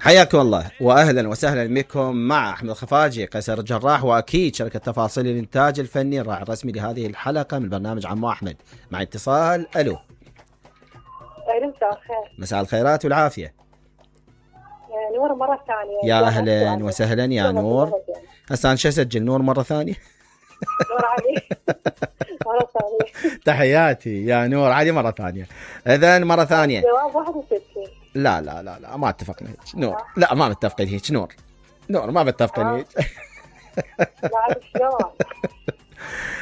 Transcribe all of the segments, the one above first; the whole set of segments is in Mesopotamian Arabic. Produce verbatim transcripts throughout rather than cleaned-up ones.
حياكم الله واهلا وسهلا بكم مع احمد الخفاجي قيصر الجراح، واكيد شركه تفاصيل الانتاج الفني الراعي الرسمي لهذه الحلقه من برنامج عمو احمد. مع اتصال. الو. مساء الخير. مساء الخيرات والعافيه. يا نور مره ثانيه. يا اهلا وسهلا يا نور. هسه انا شو اسجل نور مره ثانيه؟ نور علي مره ثانيه. تحياتي يا نور علي مره ثانيه. اذا مره ثانيه جواب واحد وستين. لا لا لا لا ما اتفقنا هيك نور. لا ما متفقين هيك نور. نور ما متفقين هيك. لا شلون؟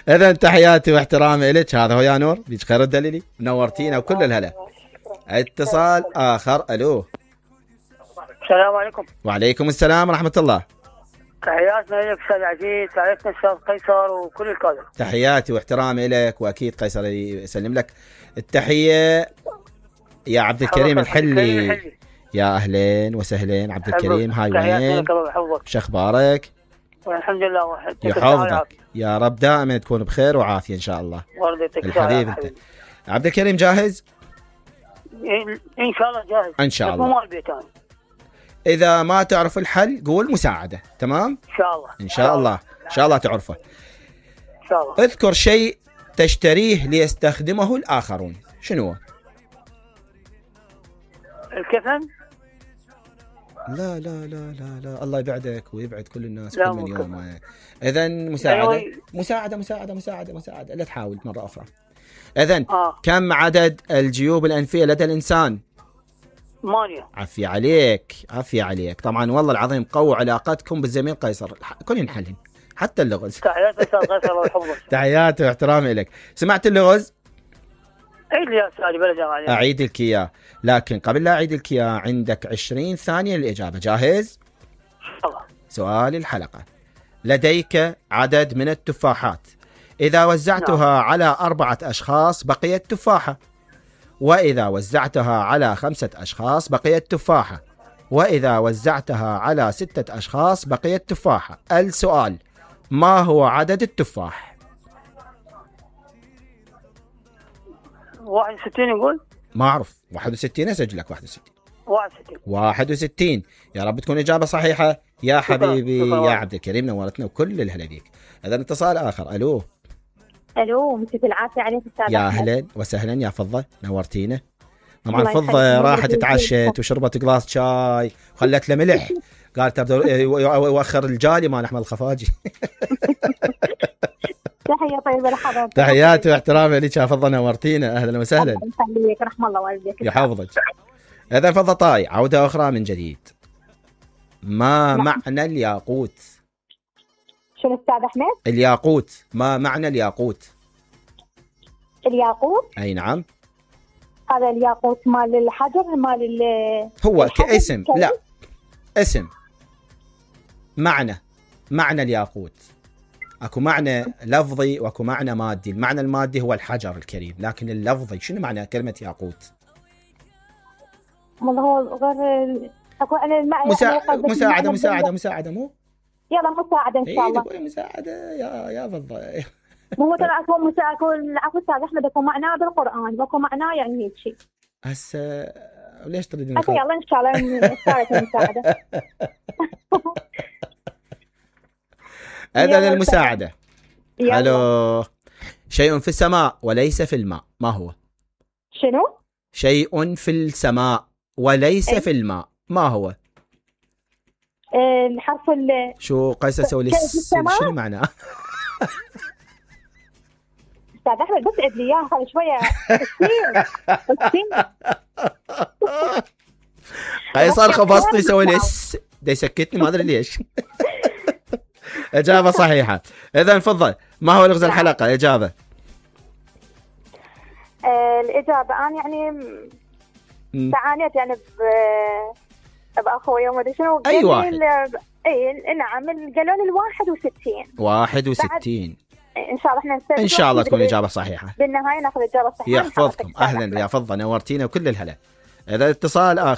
اذا تحياتي واحترامي لك. هذا هو يا نور بيج خير الدليلي. نورتينا وكل الهلا. اتصال اخر. الو. السلام عليكم. وعليكم السلام ورحمه الله. تحياتنا لك استاذ عزيز، تعرفنا استاذ قيصر وكل الكادر. تحياتي واحترامي لك، واكيد قيصر يسلم لك التحيه يا عبد الكريم الحلي. يا اهلين وسهلين عبد الكريم. هاي وين؟ شو اخبارك؟ والحمد لله. وحدك يحفظك يا رب، دائما تكون بخير وعافيه ان شاء الله. الحبيب انت. عبد الكريم جاهز؟ ان شاء الله جاهز ان شاء الله. اذا ما تعرف الحل قول مساعده. تمام ان شاء الله. ان شاء الله ان شاء الله تعرفه ان شاء الله. اذكر شيء تشتريه ليستخدمه الاخرون. شنو هو؟ الكفن. لا لا لا لا لا الله يبعدك ويبعد كل الناس كل من يوم. اذا مساعده مساعده مساعده مساعده مساعده. لا تحاول مره اخرى. اذا آه. كم عدد الجيوب الانفيه لدى الانسان؟ ثمانية. عافية عليك عافية عليك. طبعا والله العظيم قووا علاقتكم بالزميل قيصر، كل ينحلن حتى اللغز. تحياتي استاذ قيصر ويحفظك. تحياتي واحترامي لك. سمعت اللغز؟ عيد لي يا استاذ بلا. اعيد لك اياه، لكن قبل لا اعيد لك اياه عندك عشرين ثانية للاجابة. جاهز؟ ان شاء الله. سؤال الحلقة: لديك عدد من التفاحات، اذا وزعتها نعم. على أربعة اشخاص بقيت تفاحة، وإذا وزعتها على خمسة أشخاص بقيت تفاحة، وإذا وزعتها على ستة أشخاص بقيت تفاحة. السؤال: ما هو عدد التفاح؟ واحد وستين يقول. ما أعرف. واحد وستين أسجل لك. واحد وستين. واحد وستين. واحد وستين. يا رب تكون إجابة صحيحة يا حبيبي. شكرا. شكرا. يا عبد الكريم نورتنا وكل الهلا بيك. إذا اتصال آخر. ألو. الو. مساك العافيه عليك استاذ. يا اهلا وسهلا يا فضه نورتينا. طبعا فضه راحت اتعشت وشربت قلاص شاي وخلت له ملح، قالت يوخر الجالي مال احمد الخفاجي. تحيه طيبه لحضرتك. تحياتي واحترامي لك يا فضه نورتينا. اهلا وسهلا. يخليك رحم الله والديك يحفظك. اذا فضه طاي عوده اخرى من جديد. ما نعم. معنى الياقوت؟ شنو استاذ احمد؟ الياقوت. ما معنى الياقوت؟ الياقوت؟ اي نعم. هذا الياقوت مال الحجر مال ال هو كاسم. لا اسم. معنى معنى الياقوت اكو معنى لفظي واكو معنى مادي. المعنى المادي هو الحجر الكريم، لكن اللفظي شنو معنى كلمة ياقوت؟ والله هو غير اكو انا المعنى مسا... مساعدة مساعدة مساعدة مو؟ يلا مساعدة ان شاء الله. اي مساعدة يا يا فضة. مو ترى اكو مساعدة. العفو استاذ احمد اكو معناه بالقرآن واكو معناه يعني هيك شيء. هسه ليش تريدين؟ يلا ان شاء الله مساعدة مساعدة. هذا للمساعدة. حلو. شيء في السماء وليس في الماء، ما هو؟ شنو؟ شيء في السماء وليس ايه؟ في الماء، ما هو؟ الحرف ال شو قيس اسوي لي شنو معناه؟ استاذ احمد بس عد لي اياه خلي شويه. قيصر خبصتي يسوي لي دا يسكتني ما ادري ليش. اجابه صحيحه. اذا تفضل. ما هو لغز الحلقه؟ اجابه. آه الاجابه انا يعني تعانيت يعني ب باخويا وما ادري شنو. اي واحد. اي نعم قالوا لي الواحد وستين. واحد وستين. ان شاء الله احنا نستفيد. ان شاء الله تكون اجابه صحيحه. بالنهايه ناخذ اجابه صحيحه. يحفظكم. اهلا يا فضه نورتينا وكل الهلا. اذا اتصال اخر.